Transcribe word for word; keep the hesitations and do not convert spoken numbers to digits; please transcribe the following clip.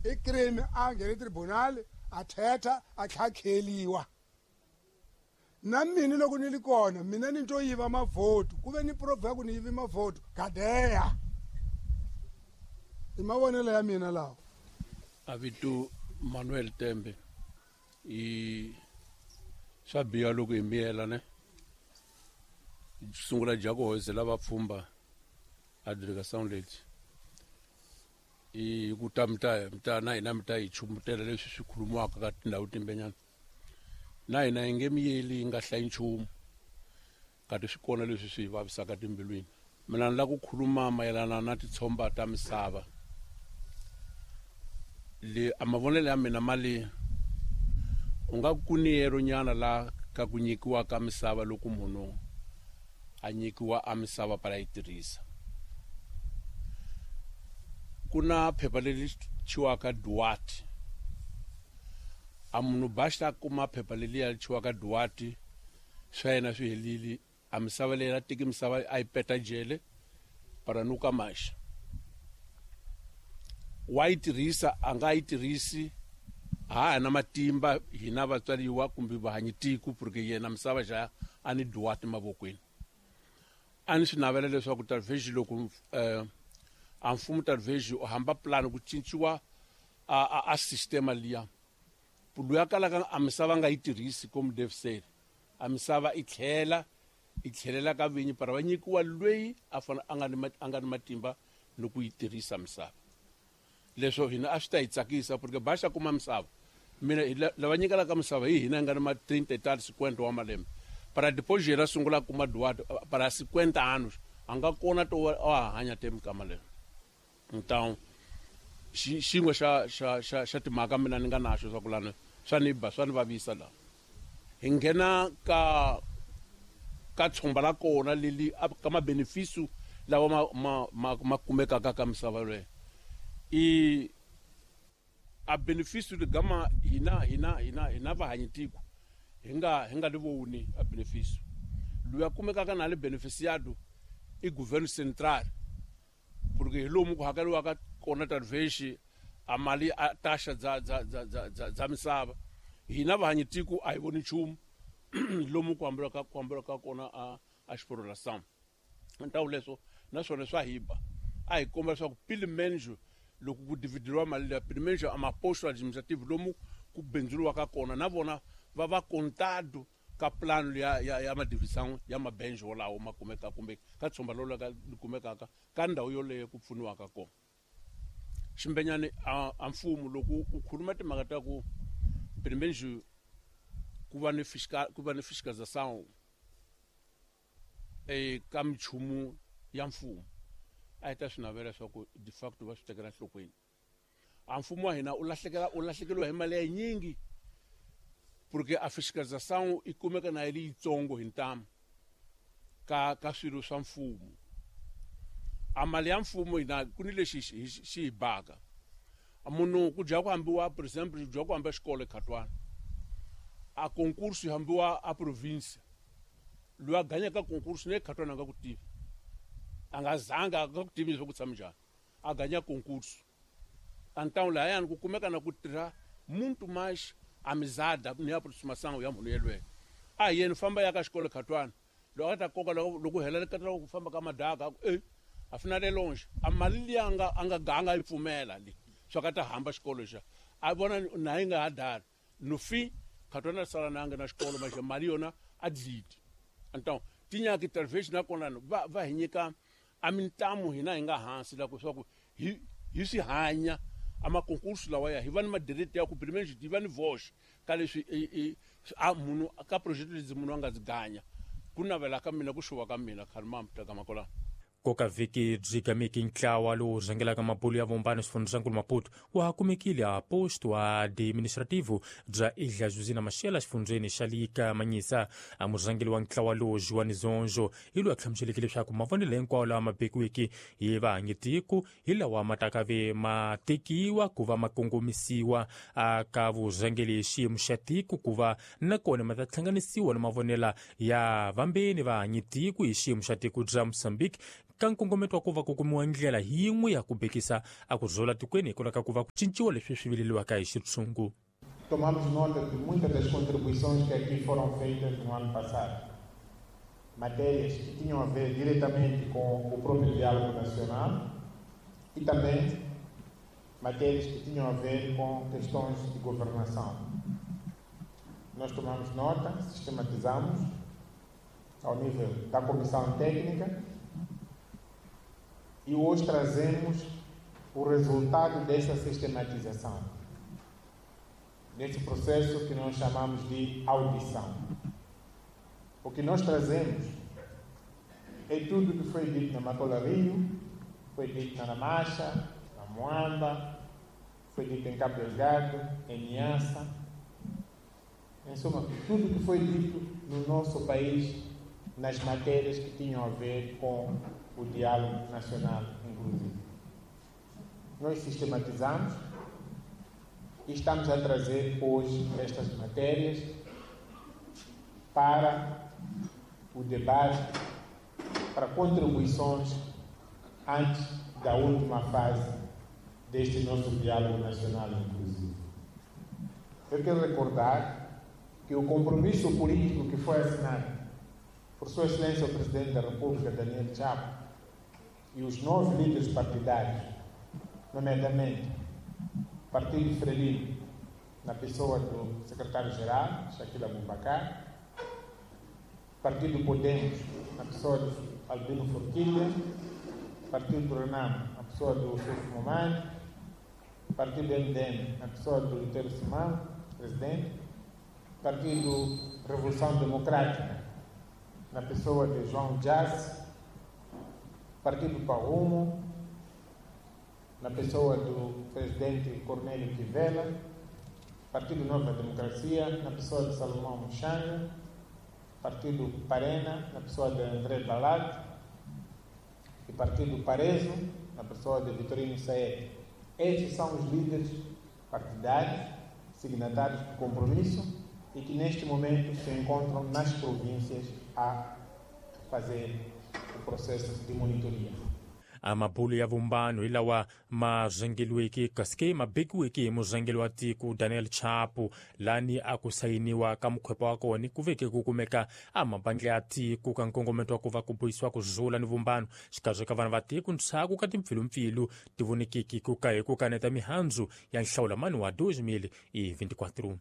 I crime a nghene tribunal a thetha a tlhakheliwa. Na mina loko ni li kona mina ni to yiva mavhoto ku ve ni proof ya ku ni yivi mavhoto kadeya. I mavonelo ya mina lawa. A vito Manuel Tembe i swa biha loko hi miyela ne sungula Jaco lava pfumba a delegação leti i ku ta mi ta mi ta na hina mi ta hi chumbutela leswi swi khulumiwaka ka tindhawu timbenyana na hina hi nge miyeli hi nga hlayi nchumu kati swi kona leswi swi hi vavisaka timbilwini. Mina ni lava ku khuluma mayelana na titshomba ta misava le a mavonelo ya mina mali u nga ku niyero nyana la ka ku nyikiwa ka misava loko munhu a nyikiwa a misava para yi tirhisa. Ku na phepha leri thyiwaka Duarte. A munhu basta kuma phepha leliya thyiwaka Duarte swa yena swi helile a misava leyi a teki misava a yi peta jele para nuka maxa. Wa yi tirhisa a nga yi tirhisi ha na matimba hina vatswariwa kumbe vahanyitiko porque yena misava xa a ni Duarte mavokweni. A ni swi navela leswaku talvez loko eh, a mfumo talvez u hamba plan ku cinciwa a, a, a sistema liya loyi a kalaka a misava nga yi tirhisi como deve ser a misava i tlhela i tlhelela ka vinyi para va nyikiwa loyi a fana a nga ni a nga ni matimba ni ku yi tirhisa misava. Leswo hina a swi ta hi tsakisa porque baxa kuma misava mina lava nyikelaka misava hi hina hi nga ni ma trinta e tal cinquenta wa malembe para depois yena sungula kuma Duarte para cinquenta anos a nga kona to a hanya te mikama leyo. Então xin'we xa xa xa xa timhaka mina ni nga naxo swa ku lana swa ni ba swa ni vavisa la hi nghena ka ka tshomba la kona leli ka mabeneficio lawa ma ma ma, ma kumekaka ka misava leyo i a beneficio ligama hina hina hina hina vahanyitiko hi nga hi nga li voni a beneficio loyi a kumekaka na le beneficiado i governo central porque hi lomu ku hakeriwaka kona talvez a mali a taxa dza dza dza dza dza misava hina vahanyitiko a hi voni nchumu lomu ku hambelaka ku hambelaka kona a a exploração. Então leswo naswona swa hiba a hi komba leswaku pelo menos loko ku dividiwa mali liya pelo menos a maposto administrative lomu ku bindzuriwaka kona na vona va va contado ka plano ya ya ya madivisão ya mabenjo wolawo ma kumeka kumbe ka tshomba lolo ka kumekaka ka ndhawu yoleyo ku pfuniwaka kona. Ximbenyani a, a mfumo loko u khuluma timhaka ta ku pelo menos ku va ni fiscal ku va ni fiscalização eka minchumu ya mfumo a hi ta swi navela leswaku de facto va swi tekela enhlokweni. A mfumo wa hina u lahlekela u lahlekeriwa hi mali ya yinyingi porque a fiscalização i kumeka na yi ri yitsongo hi ntamu ka ka swilo swa mfumo. A mali ya mfumo hina ku ni lexi xi xi hi baka munhu ku dya ku hambiwa por exemple ku dya ku hamba xikolo eKhatwana a concurso yi hambiwa a province loyi a ganyaka concurso ne Khatwana a nga ku tivi a nga zanga a nga ku tivi leswaku ku tshame njhani a ganya concurso. Então lahayani ku kumeka na ku tirha muito mais amizada ni aproximação ya munhu yelweyo. A hi yena famba ya ka xikolo Khatwana loko a ta koka loko loko hela ka ku famba ka madaka a ku e afinal é longe a mali liya a nga a nga ganga yi pfumela le swa ka ta hamba xikolo xa a vona na yi nga ha dali no fim Khatwana sala na nga na xikolo mas mali yona a dliti. Então tinyaki talvez na kona va va hi nyika a mintamu hina hi nga hansi la ku swa ku hi hi swi hanya a makonkurso lawa ya hi va ni madirete ya ku pelo menos hi va ni vox ka leswi a munhu ka project leti munhu a nga dzi ganya ku navela ka mina ku xuva ka mina khalima mutaka makola. Koka vhiki byi gameke ntlawa lowu rhangelaka mabulu ya vumbano xifundzhankulu Maputo wa kumekile a posto administrativo bya Ilha Josina Machel xifundzheni xa Lika Manyisa. A murhangeri wa ntlawa lowu Joan Zonjo hi loyi a hlamuseleke leswaku mavonelo hinkwawo lawa ma bekiweke hi vahanyitiko hi lawa ma taka ve ma tekiwa ku va ma kongomisiwa ka vurhangeri hi xiyimo xa tiko ku va nakona ma ta hlanganisiwa na mavonelo ya vambeni vahanyitiko hi xiyimo xa tiko bya Mozambique ka nkongometo wa ku va ku kumiwa ndlela yin'we ya ku bekisa a ku zola tikweni hikwalaho ka ku va ku cinciwa leswi swi vileliwaka hi xitshungu. Tomamos nota de muitas das contribuições que aqui foram feitas no ano passado. Matérias que tinham a ver diretamente com o próprio diálogo nacional e também matérias que tinham a ver com questões de governação. Nós tomamos nota, sistematizamos ao nível da comissão técnica e hoje trazemos o resultado dessa sistematização, desse processo que nós chamamos de audição. O que nós trazemos é tudo que foi dito na Matola Rio, foi dito na Namacha, na Moamba, foi dito em Cabo Delgado, em Niassa. Em suma, tudo que foi dito no nosso país nas matérias que tinham a ver com o diálogo nacional inclusivo. Nós sistematizamos e estamos a trazer hoje estas matérias para o debate, para contribuições antes da última fase deste nosso diálogo nacional inclusivo. Eu quero recordar que o compromisso político que foi assinado por Sua Excelência o Presidente da República, Daniel Chapo, e os nove líderes partidários, nomeadamente o Partido Frelimo, na pessoa do secretário-geral, Shaquille Abubacar, Partido Podemos, na pessoa do Albino Forquilha, Partido Renamo, na pessoa do Ossufo Momade, Partido M D M, na pessoa do Lutero Simão, presidente, Partido Revolução Democrática, na pessoa de João Jazz, Partido Parrumo, na pessoa do presidente Cornélio Quivela, Partido Nova Democracia, na pessoa de Salomão Muxanga, Partido Parena, na pessoa de André Balat, e Partido Parezo, na pessoa de Vitorino Saed. Estes são os líderes partidários, signatários do compromisso, e que neste momento se encontram nas províncias a fazer o processo de monitoria. A mabulu ya vumbano hi lawa ma rhangeliweke kasi ma bekiweke hi murhangeri wa tiko Daniel Chapo, lani a ku sayiniwa ka mukhwepa wa kona ku veke ku kumeka a mabandla ya tiko ka nkongometo wa ku va ku bohisiwa ku zula ni vumbano xikarhi ka vanhu va tiko ntshaku ka timpfilumpfilu ti vonekiki ku ka hi ku kaneta mihandzu ya nhlawulamani wa twenty twenty-four.